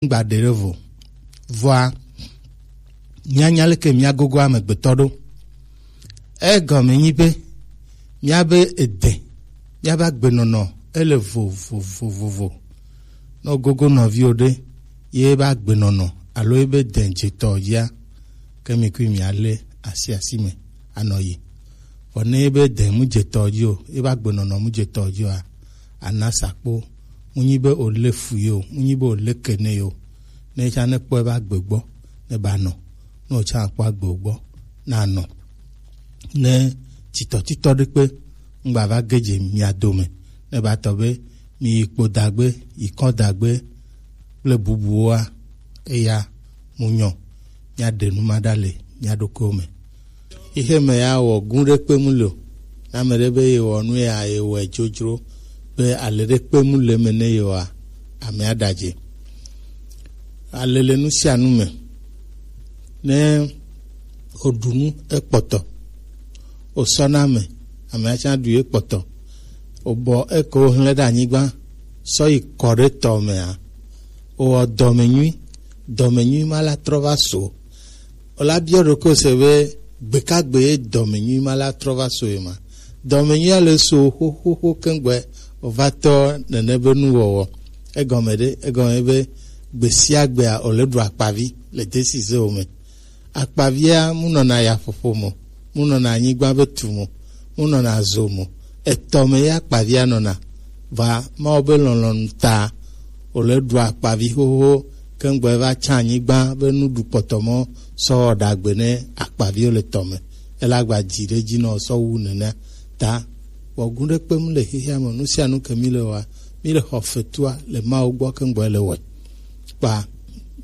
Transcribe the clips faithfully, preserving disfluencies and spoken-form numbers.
ŋgba ɖe ɖe vo. Vɔa, míanya leke míagogo amegbetɔ ɖo. Egɔme nyi be míabe ede, míabe agbenɔnɔ ele vovovovovo. Ne ogogo nɔviwo ɖe, ye ebe agbenɔnɔ alo ebe dɛn dzetɔ dzia, ke mi kui mialé asi asi me anɔ yi. Vɔ ne ebe dɛn mu dzetɔ dzi o, ebe agbenɔnɔ mu dzetɔ dzi oa, ana sakpo. Mu nyi be olé fu ye o, mu nyi be olé ke ne ye o. Ne tsã ne kpɔ ebe agbe gbɔ, ne ba nɔ. Ne o tsã akpɔ agbe gbɔ, na nɔ. Ne titɔtitɔ ɖe kpe ŋgba va ge dze mia dome, ne ba tɔ be mi yi kpo dagbe, yi kɔ dagbe kple bubuwoa, eya mu nyɔ, mia ɖe nu ma ɖa le mia ɖokuiwo me. Xixe me ya wɔ gu ɖe kpe mu le o. Ne ame ɖe be ye wɔ nu ya ye wɔe dzodzro be ale ɖe kpe mu le eme ne ye wɔa, amea ɖadze. Ale le nu sia nu me. Ne oɖu nu ekpɔtɔ, osɔ na ame, amea tsã ɖu ye kpɔtɔ. Obɔ eke wohlẽ ɖe anyigba sɔ yi kɔ ɖe tɔ mea, owɔ dɔmenyui, dɔmenyui ma la trɔ va so. Ola biɔ ɖokui se be gbekagbe ye dɔmenyui ma la trɔ va so ye ma. Dɔmenyui ale so xoxoxo kengbe ova tɔ nene be nuwɔwɔ. Egɔme ɖe, egɔme be gbe sia gbea ole ɖu akpavi le desi ze wo me. Akpavia mu nɔna yaƒoƒo mo, mu nɔna anyigba be tu mo, mu nɔna zo mo. Etɔ me ya akpavia nɔna. Va Mawu be lɔlɔ̃nu ta ole ɖu akpavi xoxo kengbe va tsã anyigba be nuɖu kpɔtɔ mɔ sɔ wɔ ɖagbe ne akpaviwo le tɔ me. Ele agba dzi ɖe dzi nɔ sɔ wu nenea ta. Wɔ gu ɖe kpem le xexea me, nu sia nu ke mi le wɔa, mi le xɔ fetua le Mawu gbɔ kengbe le wɔe. Kpa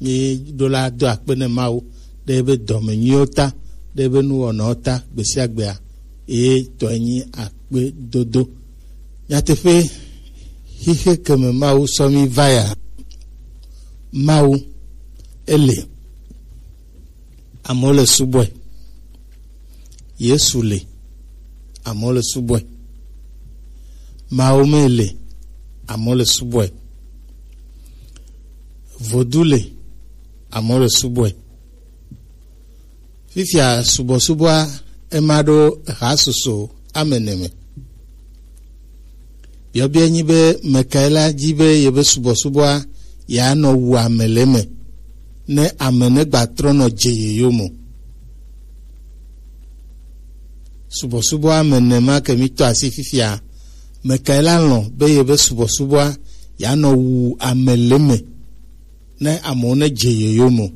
mi ɖo la do akpe ne Mawu ɖe ebe dɔme nyuiwo ta, ɖe ebe nuwɔnawo ta gbesiagbea, eye tɔe nyi akpe dodo. Nyateƒe, xixe ke me Mawu sɔ mi va ya, Mawu ele, amewo le subɔe. Yesu le, amewo le subɔe. Mawu me le, amewo le subɔe. Vodu le, amewo le subɔe. Fifia subɔsubɔa ema ɖo hasusu ame ene me. Biɔbiɔ nyi be mekae la dzi be yebe subɔsubɔa yeanɔ wu ame le eme ne ame ne gba trɔ nɔ dze yeyome o. Subɔsubɔ ame ene ma ke mi tɔ asi fifia, mekae la lɔ̃ be yebe subɔsubɔa yeanɔ wu ame le eme ne amewo ne dze yeyome o.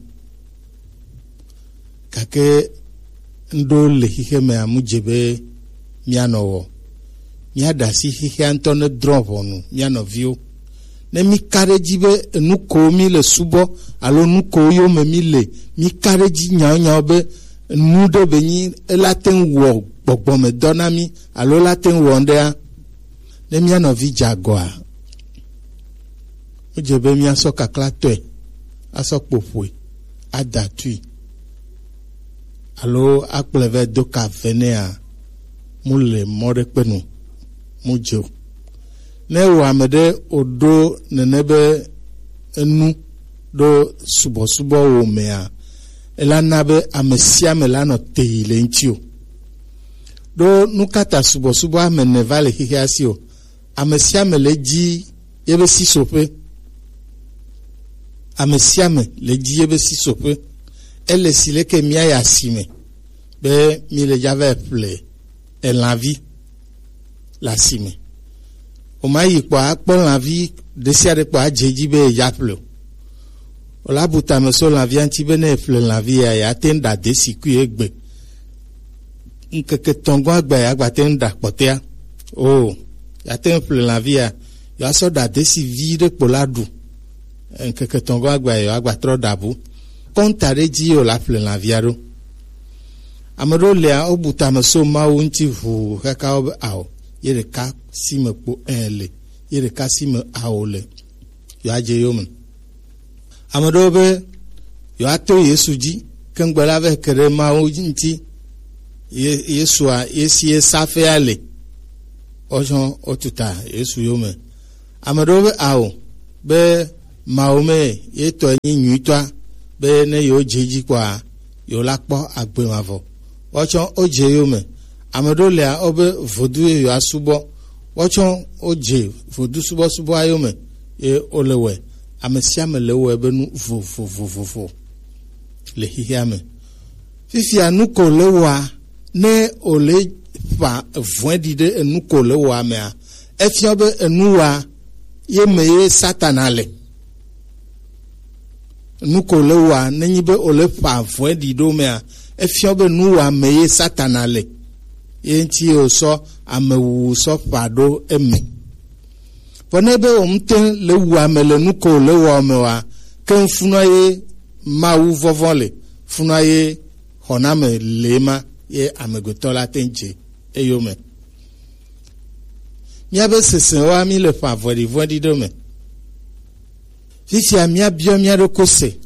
Gake ŋɖewo le xixe me amu dze be míanɔ wɔ. Míaɖe asi xixea ŋutɔ ne drɔ̃ ʋɔnu mía nɔviwo. Ne mí ka ɖe edzi be enu ko mí le subɔ alo nu ko yome mí le, mí ka ɖe edzi nyaonyawo be nu ɖe be nyi ela te ŋu wɔ gbɔgbɔmedɔ na mí alo ela te ŋu wɔ ŋɖea, ne mía nɔvi dze agɔa, wodze be míasɔ kaklatɔe asɔ kpoƒoe, ada tui, alo akplɔe vɛ do ka ve nɛa, mu le mɔ ɖe kpe nu, mu dze o. Ne wò ame ɖe wòɖo nene be enu ɖo subɔsubɔ wò mea, ela na be ame sia ame la nɔ te yi le ŋuti o. Ɖo nu ka ta subɔsubɔ ame ene va le xexea si o? Ame sia ame le dzi yebe sisoƒe. Ame sia ame le dzi yebe sisoƒe. Ele si leke míayi asime be mi le dza va ƒle elãvi le asime. Woma yi kpɔ akpɔ lãvi ɖe sia ɖe kpɔ adze edzi be yedza ƒle o. Wòla bu tame so lãvia ŋuti be ne eƒle lãvi ya, yeate ŋu ɖa desikui egbe. Ŋkeke etɔ̃ gɔ̃ agbe yeagbate ŋu ɖa kpɔtɔea. O, yeate ŋu ƒle lãvi ya, yewoasɔ ɖa desi vi ɖe kpo la ɖu. Ŋkeke etɔ̃ gɔ̃ agbe yewoagba trɔ ɖa bu. Kɔnta ɖe dzi ye wòla ƒle lãvia ɖo. Ame ɖewo lia, wobu tame so Mawu ŋuti ʋuu kaka wo be ao, ye ɖeka si me kpo ẽ le, ye ɖeka si me ao le. Yewoadze yome. Ame ɖewo be yewoato Yesu dzi, ke ŋgbe la vɛ ke ɖe Mawu ŋuti. Ye-, Yesua, ye si ye safea le. Wotsɔ wotuta Yesu yome. Ame ɖewo be ao, be Mawu me ye tɔ nyi nyuitɔa, be ne yewo dze edzi kpɔa, yewo la kpɔ agbe mavɔ. Wotsɔ wodze yome. Ame ɖewo lia, wobe vodu ye yewoa subɔ. Wotsɔ wodze vodu subɔsubɔa yome, ye wole wɔe. Ame sia ame le wɔe be nu vovovovovo le xexea me. Fifia nu ko le wɔa, ne wòle ƒã vɔ̃ɖi ɖe enu ko le wɔa mea, efia be enu wɔa ye me ye Satana le. Nu ko le wɔa, nenyi be wòle ƒã vɔ̃ɖi ɖo mea, efia be nu wɔa me ye Satana le. Ye ŋuti ye wòsɔ amewuwu sɔ ƒã ɖo eme. Vɔ ne be wòmte le wu ame le nu ko le wɔ me wa, ke funua ye Mawu vɔvɔ̃ le, funua ye xɔname le ma ye amegbetɔ la te ŋu dze eyome. Míabe sesẽ wa mi le ƒã vɔ̃ɖivɔ̃ɖi ɖe me. Fifia míabiɔ mía ɖokui se.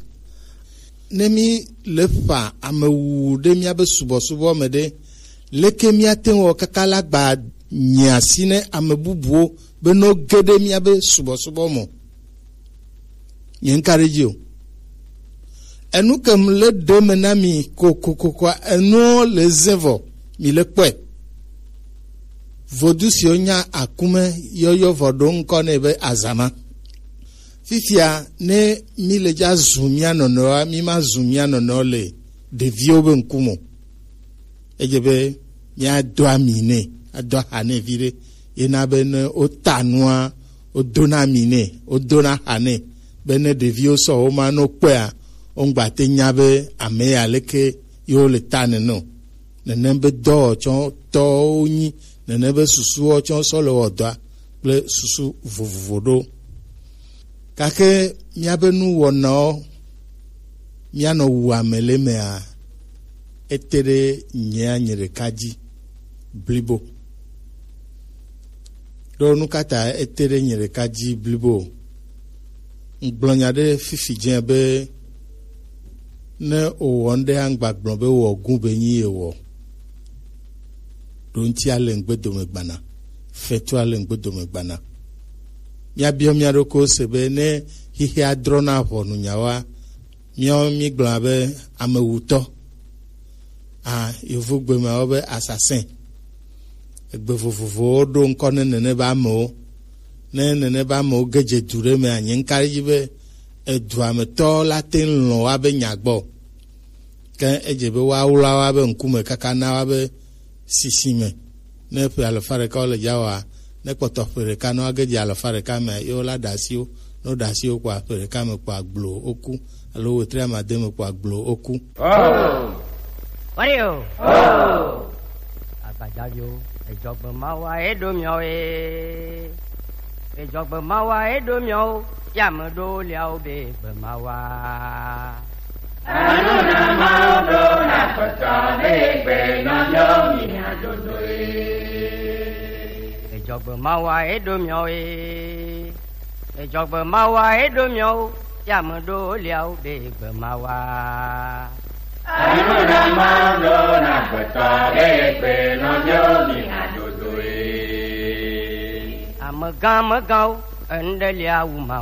Ne mi le ƒã ame wuwu ɖe míabe subɔsubɔ me ɖe, leke míate ŋu wɔ kaka la gba nye asi ne ame bubuwo be no ge ɖe míabe subɔsubɔ me? Nye ŋka ɖe edzi o. Enu ke mu le ɖe me na mi kokokokoa, enuwo le ze vɔ, mi le kpɔe. Vodu siwo nya akume yɔyɔ vɔ ɖo ŋkɔ nɛ be azama. Fifia ne mi le dza zu mía nɔnɔewoa, mi ma zu mía nɔnɔewo le ɖeviwo be ŋkume o. Edze be míado ami nɛ, ado aha nɛ viɖe. Yena be ne wota nua, wodona ami nɛ, wodona aha nɛ, be ne ɖeviwo sɔ wo ma no kpɔea, woŋgba te nya be ame ya leke yewo le ta nene o. Nenem be dɔwɔtsɔtɔwo nyi, nenem be susuwo tsɔ sɔ le wɔ dɔa kple susu vovovo ɖo. Gake míabe nuwɔnawo, míanɔ wu ame le mea, ete ɖe nyea nye ɖeka dzi blibo. Ɖo nu ka ta ete ɖe nye ɖeka dzi blibo? Ŋgblɔ nya ɖe fifi dze be ne wòwɔ nu ɖe, aŋgba gblɔ be wɔ gu be nyi ye wɔ. Ɖo ŋuti ale ŋgbe dome gbana, fetu ale ŋgbe dome gbana. Míabiɔ mía ɖokuiwo se be ne xexea drɔ̃na ʋɔnu nyawoa, míawo mígblɔna be amewutɔ. A, yovogbe me wobe assassin. Egbe vovovowo ɖo ŋkɔ ne nene be amewo. Ne nene be amewo ge dze du ɖe mea, nye ŋka ɖe edzi be edua me tɔ la te ŋu lɔ̃ woabe nya gbɔ. Ke edze be woawla woabe ŋkume kaka na woabe sisi me. Ne ƒe alafa ɖeka wole dza wɔa, ne kpɔtɔ ƒe ɖeka ne woage dze alafa ɖeka mea, ye wola ɖe asiwo. Ne woɖe asiwo kpɔa, ƒe ɖeka me kpɔa gblo woku, alo wetri amade me kpɔa gblo woku. Oh! What are you? Oh! Agbadzaviwo, edzɔgbe mawa eɖo miawo ye. Edzɔgbe mawa eɖo miawo, ya me ɖo liawo be gbe mawa. Anu na mawo ɖo na kpɔtɔ be gbe nɔ miawo mi adodo ye. Edzɔgbe mawa eɖo miawo ye. Edzɔgbe mawa eɖo miawo, ya me ɖo liawo be gbe mawa. Anu na mawo ɖo na kpɔtɔ be gbe nɔ miawo mi adodo ye. Amegã megãwo, enu ɖe lia wu mawo.